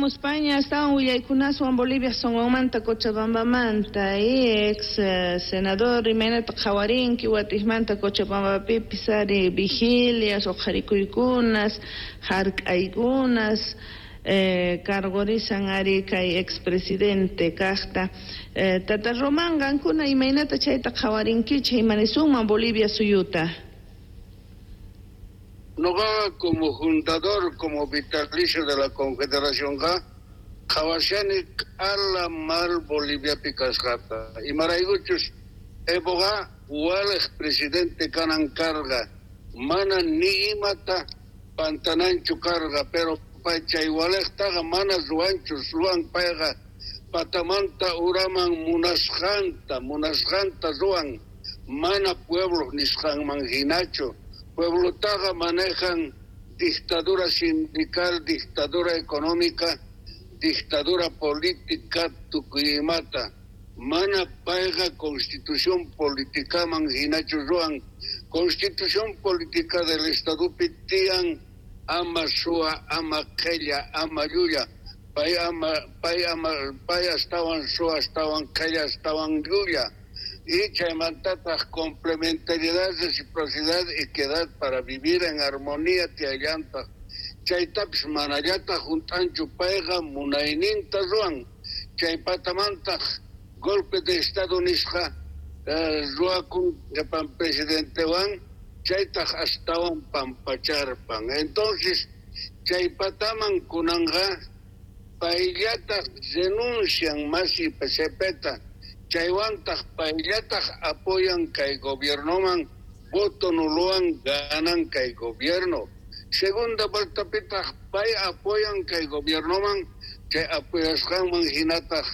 Jamuspaña astawan willaykunaswan Bolivia sonqonmanta Cochabambamanta ex senador imaynata qhawarinki watijmanta Cochabambapipis ari vigilias uqharikuykunas hark'aykunas cargorisan ari kay expresidente kaqta Tata Román qankuna imaynata chayta qhawarinkichik imanisunman Bolivia suyuta. Noqa como fundador, como vitalicio de la Confederación qhawashani q'ala mal Boliviapi kasqata. Imaraykuchus Evoqa waliq presidente kanan karqa, mana ni imata pantananchu karqa, pero pay chay waliqtaqa mana ruwanchu, ruwan payqa patamanta uraman munasqanta ruwan, mana pueblo nisqanman hinachu. Pueblotaqa manejan dictadura sindical, dictadura económica, dictadura política tukuy imata. Mana payqa constitución politicaman hinachu ruwan. Constitución política del Estadopi tiyan ama suwa, ama qhella, ama llulla. Pay astawan suwa, astawan qhella, astawan llulla. Y chaymantataq complementariedad, reciprocidad, equidad para vivir en armonía tiyallantaq. Chaytapis manallataq hunt'anchu payqa munayninta ruwan. Chay patamantaq golpe de Estado nisqa ruwakun qhipan presidentewan, chaytaq astawan pampacharpan. Entonces chay pataman kunanqa payllataq renuncian masi PCPta, chaywantaq payllataq apoyan kay gobiernoman, voto nulowan ganan kay gobierno. Segunda vueltapitaq pay apoyan kay gobiernoman, chay apoyasqanman hinataq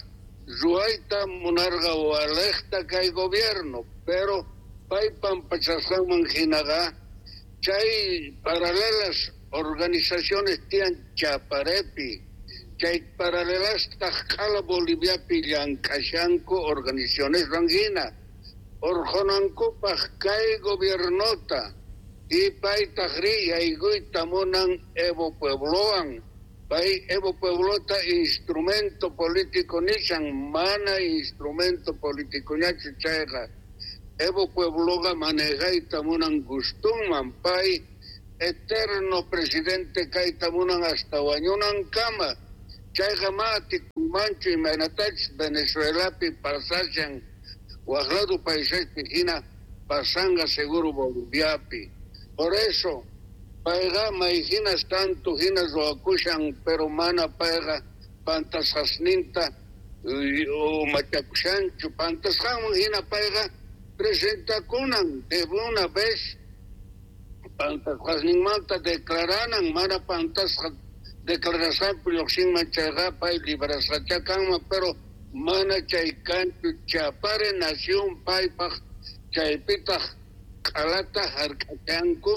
ruwayta munarqa waliqta kay gobierno, pero pay pampachasqanman hinaqa chay paralelas organizaciones tiyan Chaparepi, chay paralelastaq q'ala Boliviapi llank'ashanku organizaciones hina urqunankupaq kay gobiernota y paytaq ri yaykuyta munan Evo Pueblowan. Pay Evo Pueblota instrumento político nishan, mana instrumento político ñachu chayqa. Evo Puebloqa manejayta munan gustunman, pay eterno presidente kayta munan hasta wañunankama. Chayqa ma atikunmanchu imaynatachus Venezuelapi pasashan, waq lado paisespi hina pasanqa seguro Boliviapi. Por eso payqa may hinas tanto hina ruwakushan, pero mana payqa pantasqasninta machakushanchu. Pantasqanman hina payqa presentakunan de una vez pantasqasninmanta declaranan, mana pantasqa declarasqanpi lluqsinman chayqa pay librasqacha kanman, pero mana chay kanchu. Chapare nación paypaq chaypitaq q'alata hark'achanku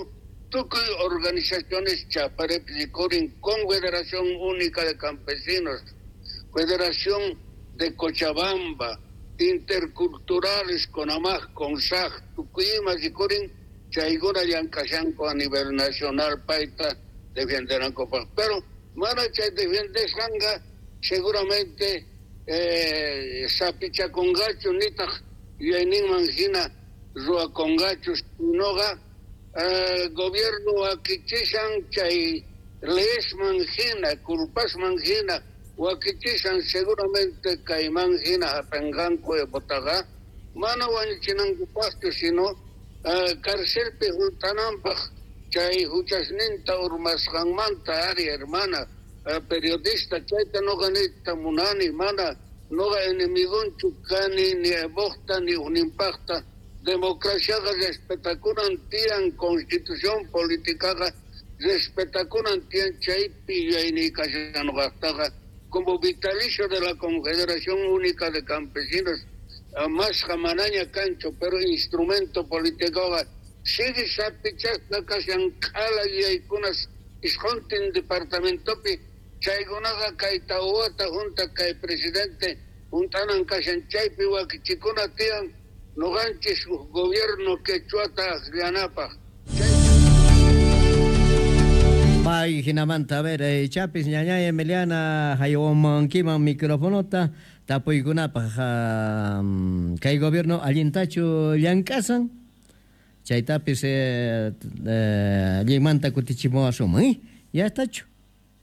tukuy organizaciones Chaparepi rikurin, Confederación Única de Campesinos, Federación de Cochabamba, Interculturales, CONAMAJ, CONSAJ, tukuy ima rikurin, chaykuna llank'ashanku a nivel nacional payta defenderankupaq. Pero mana chay defendesqanqa seguramente sapichakunqachu nitaq yuyayninman hina ruwakunqachu, sinoqa gobierno wakichishan chay leyesman hina, culpasman hina wakichishan seguramente kayman hina hap'inqanku Evotaqa, mana wañuchinankupaqchu, sino carcelpi hunt'ananpaq chay huchasninta urmasqanmanta. Ari hermana periodista, chayta noqa niyta munani, mana noqa enemigonchu kani ni Evoqta ni uninpaqta. Democraciaqa respetakunan tiyan, constitución politicaqa respetakunan tiyan, chaypi yuyayniy kashan noqaqtaqa como vitalicio de la Confederación Única de Campesinos, masqa manaña kanchu, pero instrumento políticoqa sigue sapichasqa kashan q'ala yuyaykunas isquntin departamentopi, chaykunaqa kay tawata junta kay presidente junt'anan kashan, chaypi wakichikuna tiyan noqanchis gobierno quechuata akllanapaq. Ay, jinamanta, a ver, ichapis ñañay Emiliana haywamankiman microfonota tapuykunapaj kay gobierno allintachu llank'asan chaytapis allinmanta kutichimuwasunman, eh? Ya estachu?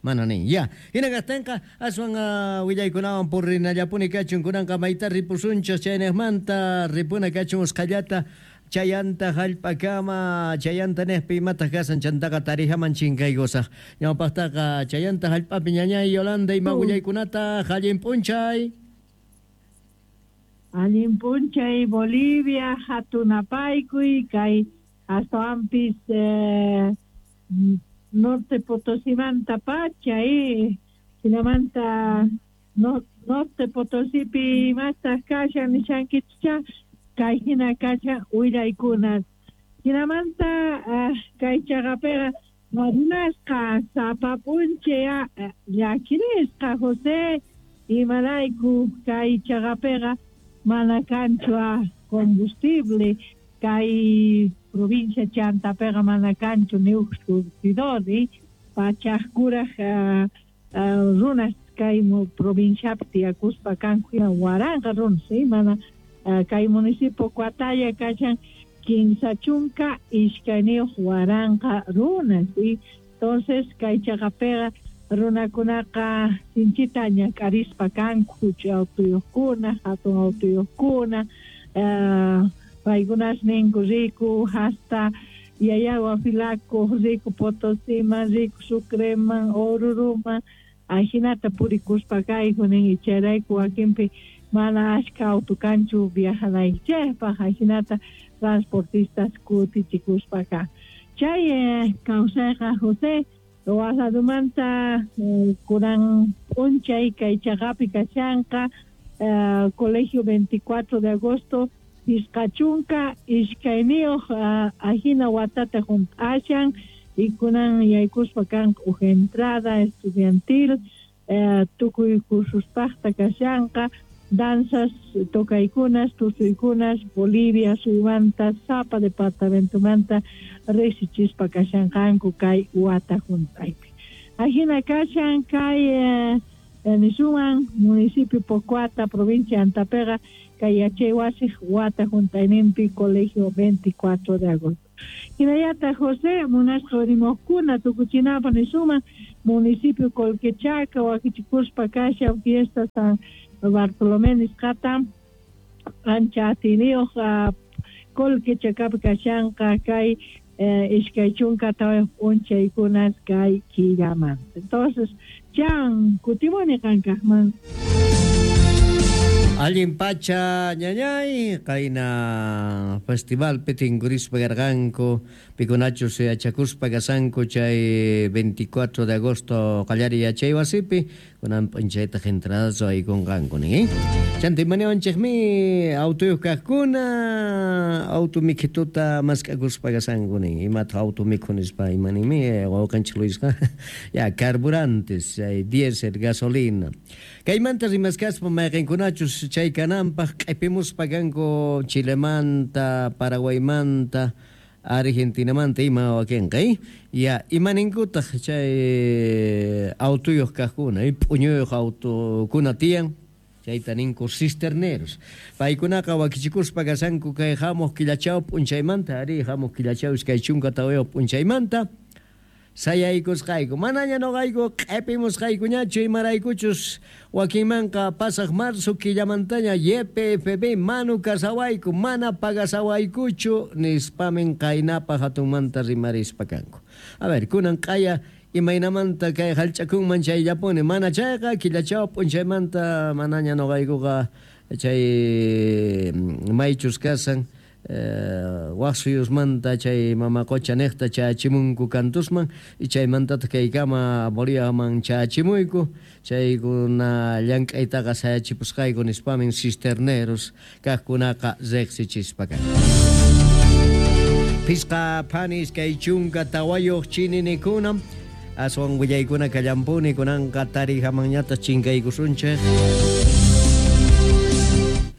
Mana nin, ya. Hina kajtinqa aswan willaykunawan purinallapuni kachun kunanqa mayta ripusunchis chaynejmanta ripuna kachun usqhallata chayanta hallp'akama chayanta nejpi imataq kasan chantaqa tarijaman chinkaykusaq ñawpaqtaqa chayanta hallp'api ñañay Yolanda ima willaykunata allin p'unchay. Allin p'unchay Bolivia hatunapaykuy kay astawanpis Norte Potosimanta pacha hinamanta Norte Potosipi imastaq kashan nishankichá kay hina kashan willaykunas hinamanta kay chaqapiqa runasqa sapa p'unchay llakirisqa José imarayku kay chaqapiqa mana kanchu combustible kay provincia chantapiqa mana kanchu ni uj surtidor pachaj kuraj runas kay provinciapi tiyakuspa kanku waranqa runas mana kay municipio Coataya kashan 32 waranqa runas entonces kay chaqapiqa runakunaqa sinchita ñak'arispa kanku huch'uy autuyuqkuna hatun autuyuqkuna paykunas ninku riku hasta Llallagua Filaco riku Potosiman riku Sucreman Oruruman ajinata purikuspa kayku nin chayrayku wakinpi mana ashka auto kanchu viajanaykichikpaq ajinata transportistas kutichikuspa kan chay kawsayqa José Oaxacamanta kunan p'unchay kay chaqapi kashanqa Colegio 24 de agosto 52 ajina watata junt'ashan y kunan yaykuspa kanqa uj entrada estudiantil tukuy cursuspaqta kashanqa danzas tocaykunas tusuykunas Bolivia suymanta sapa departamentomanta riqsichispa kashanqanku kay wata junt'aypi ajina kashan kay nisuman municipio Pocoata provincia Antapiqa kay yachay wasiq wata junt'ayninpi Colegio 24 de agosto hinallataq José munasqa urimuqkuna tukuchinapaq nisuman municipio Colquechaca wakichikuspa kashan fiesta San Bartolomé nisqata ancha atiyniyuq Colquechacapi kashanqa kay 24 p'unchaykunas kay killamanta. Entonces chan kutimuni qankaqman. Allin pacha ñañay qayna festivalpi tinkurispa karqanku pikunachus yachakuspa kasanku chay 24 de agosto qallariy yachay wasipi kunan p'unchaytaq entradasu aykunqanku nin chanta imaniwanchikmi autuyuq kaqkuna auto mikhituta mask'akuspa kasanku nin imataq auto mikhu nispa imaninmi wawqanchik Luisqa ya carburantes chay diésel gasolina kaymanta rimaskaspa mayqinkunachus chay kananpaq q'ipimuspa kanku Chilemanta, Paraguaymanta, Argentinamanta ima wakinqa ya imaninkutaq chay autuyuq kaqkuna p'uñuyuq autukuna tiyan chayta ninku cisterneros paykunaqa wakichikuspa kasanku kay hamuq killachaw p'unchaymanta ari hamuq killachaw 24 p'unchaymanta sayaykusqayku manaña noqayku q'ipimusqaykuñachu imaraykuchus wakinmanqa pasaq marzo killamantaña YPFB manu kasawayku mana pagasawaykuchu nispamin qaynapaq hatunmanta rimarispa kanku a ver kunan q'aya imaynamanta kay hallch'akunman chayllapuni mana chayqa killachaw p'unchaymanta manaña noqaykuqa chay maychus kasan waq suyusmanta chay mama qocha niqta chachimunku kantusman y chaymantataq kaykama Boliviaman chachimuyku chaykuna llank'aytaqa sayachipusqayku nispamin cisterneros kaqkunaqa riqsichispa kanku. Pisqa phanis kay 24 chininikuna aswan willaykuna kallampuni kunanqa tarijamanñataq chinkaykusunchik.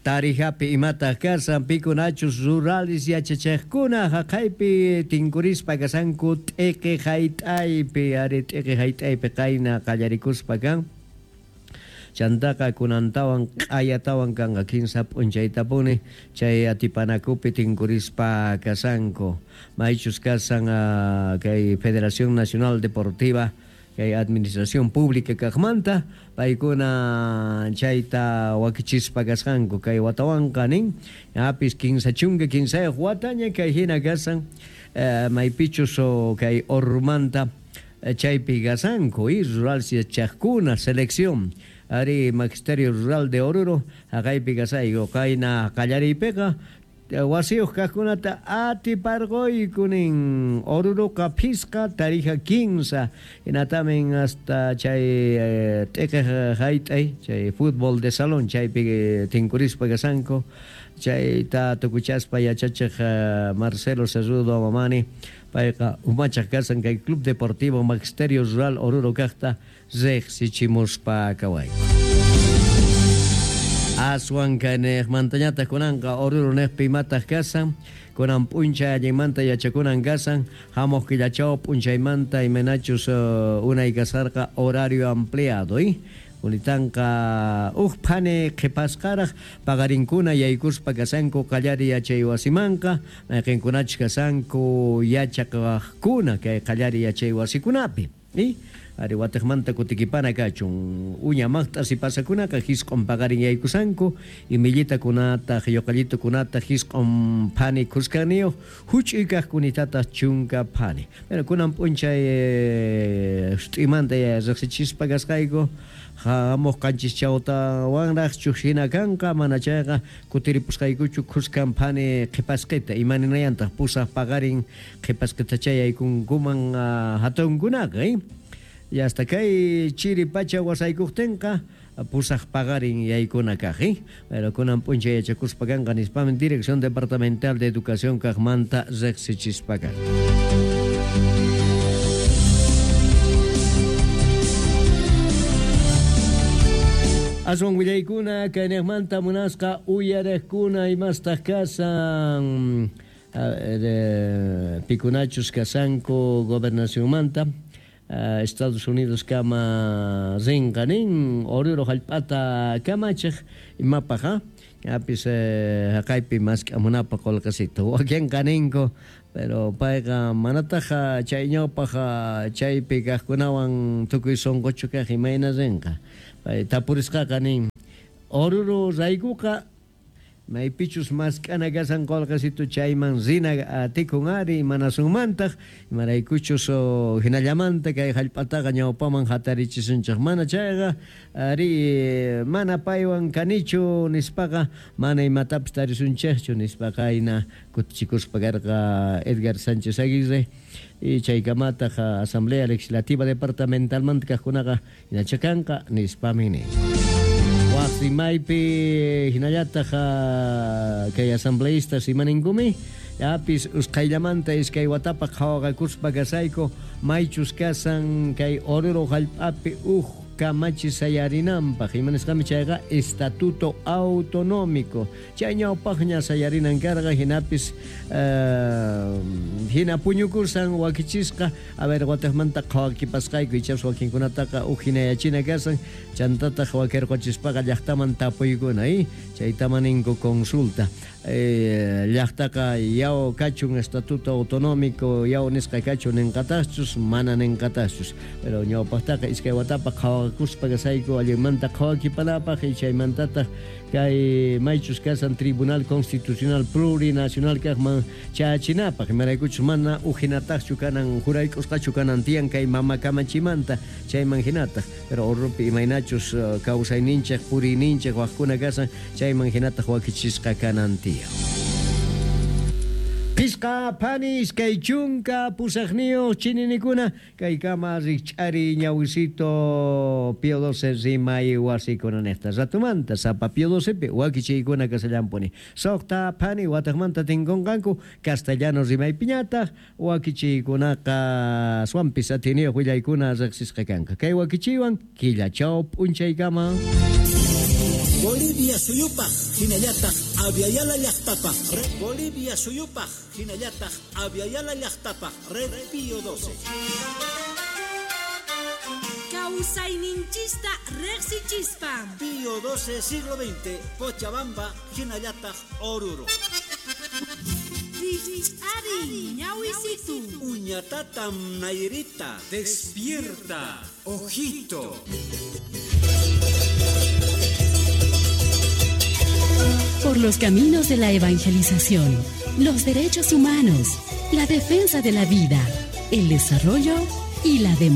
Tarijapi imataq kasan pikunachus rurales yachachejkuna jaqaypi tinkurispa kasanku t'iqi hayt'aypi ari t'iqi hayt'aypi qayna qallarikuspa kan chantaqa kunantawan q'ayatawan kanqa kinsa p'unchaytapuni chay atipanakupi tinkurispa kasanku maychus kasan kay Federación Nacional Deportiva kay Administración Pública kaqmanta paykuna chayta wakichispa kasqanku kay watawanqa nin apis 53 wataña kay hina kasan maypichus kay Ormanta chaypi kasanku y rural yachaqkuna selección ari Magisterio Rural de Oruro haqaypi kasayku qayna qallariypiqa wasiyuq kaqkunata atiparquyku nin Oruroqa phisqa Tarija 15 hinatamin hasta chay t'iqiq hayt'ay chay fútbol de salón chaypi tinkurispa kasanku chayta tukuchaspa yachachiq Marcelo Cerrudo Mamani payqa umachaq kasan kay Club Deportivo Magisterio Rural Oruro kaqta riqsichimuspa kawayku. Aswan kayniqmantañataq kunanqa Oruro niqpi imataq kasan kunan p'unchay allinmanta yachakunan kasan hamuq killachaw p'unchaymanta imaynachus unay kasarqa horario ampliado Unitanqa uj phani qhipasqaraq paqarinkuna yaykuspa kasanku qallari yachay wasimanqa mayqinkunachus kasanku yachaqaqkuna kay qallari yachay wasikunapi ari watiqmanta kutikipana kachun uña maqt'as pasakunaqa jisq'un paqarin yaykusanku imillitakunataq yuqallitukunataq jisq'un phani khuskaniyuq huch'uy kaqkunitataq chunka phani. Pero kunan p'unchay sut'imanta riqsichispa kasqayku hamuq qanchis chawtawanraqchu hina kanqa mana chayqa kutiripusqaykuchu khuskan phani qhipasqita imaninayantaq pusaq paqarin qhipasqitacha yaykunkuman hatunkunaqa y hasta kay chiri pacha wasaykuqtinqa pusaq paqarin yaykuna kaq pero kunan p'unchay yachakuspa kanqa nispamin Dirección Departamental de Educación kaqmanta riqsichispa kan. Aswan willaykuna kayniqmanta munasqa uyariqkuna imastaq kasan pikunachus kasanku gobernacionmanta Estados Unidos kama rinqa nin Oruro hallp'ata kamachiq imapaq apis haqaypi mask'amunapaq qullqisita wakinqa ninku pero payqa manataq chay ñawpaq chaypi kaqkunawan tukuy sunquchu kaq imayna rinqa pay tapurisqaqa nin Oruro raykuqa maypichus mask'ana kasan qullqisitu chayman rina atikun ari imanasunmantaq imaraykuchus hinallamanta kay hallp'ataqa ñawpaman hatarichisunchik mana chayqa ari mana paywan kanichu nispaqa mana imatapis tarisunchikchu nispaqa ayna kutichikuspa karqa Edgar Sánchez Aguirre y chaykamataq Asamblea Legislativa Departamentalmanta kaqkunaqa hinachakanqa nispami nin. Wasimaypi hinallataq kay asambleístas imaninkumi apis usqhayllamanta iskay watapaq qhawaqakuspa kasayku maychus kasan kay Oruro hallp'api uj kamachi sayarinanpaq imanisqami chayqa estatuto autonómico chay ñawpaqña sayarinan karqa hinapis hina puñukusan wakichisqa a ver watiqmanta qhawakipasqayku ichapas wakinkunataqa uj hinayachina kasan chantataq wakirquchispaqa llaqtaman tapuykuna chaytaman ninku consulta llaqtaqa yaw kachun estatuto autonómico yaw nisqa kachun ninqataqchus mana ninqataqchus pero ñawpaqtaqa iskay watapaq qhawakuspa kasayku allinmanta qhawakipanapaq y chaymantataq kay maychus kasan Tribunal Constitucional Plurinacional kaqman chachinapaq imaraykuchus mana ujinataqchu kanan juraykusqachu kanan tiyan kay mama kamachimanta chayman hinataq pero Oruropi imaynachus kawsayninchik puriyninchik waqkuna kasan chayman hinataq wakichisqa kanan tiyan. Pisqa phani iskay chunka pusaqniyuq chininikuna kaykama rikch'ari ñawisito Pío XII rimay wasikuna niqta ratumanta sapa Pío XII wakichiykuna kasallampuni suqta phani wataqmanta tinkunqanku castellano rimaypiñataq wakichiykunaqa aswanpis atiniyuq willaykuna riqsisqa kanqa kay wakichiywan killachaw p'unchaykama. Bolivia suyupaj hinallataq Aviala llaqtapaj. Bolivia suyupaj hinallataq Aviala llaqtapaj. Red Pío 12. Kawsayninchista riqsichispa. Pío 12 siglo XX, Cochabamba, hinallataq Oruro. Ari, ñawisitu. Uñatatam Nairita. Despierta, ojito. Por los caminos de la evangelización, los derechos humanos, la defensa de la vida, el desarrollo y la democracia.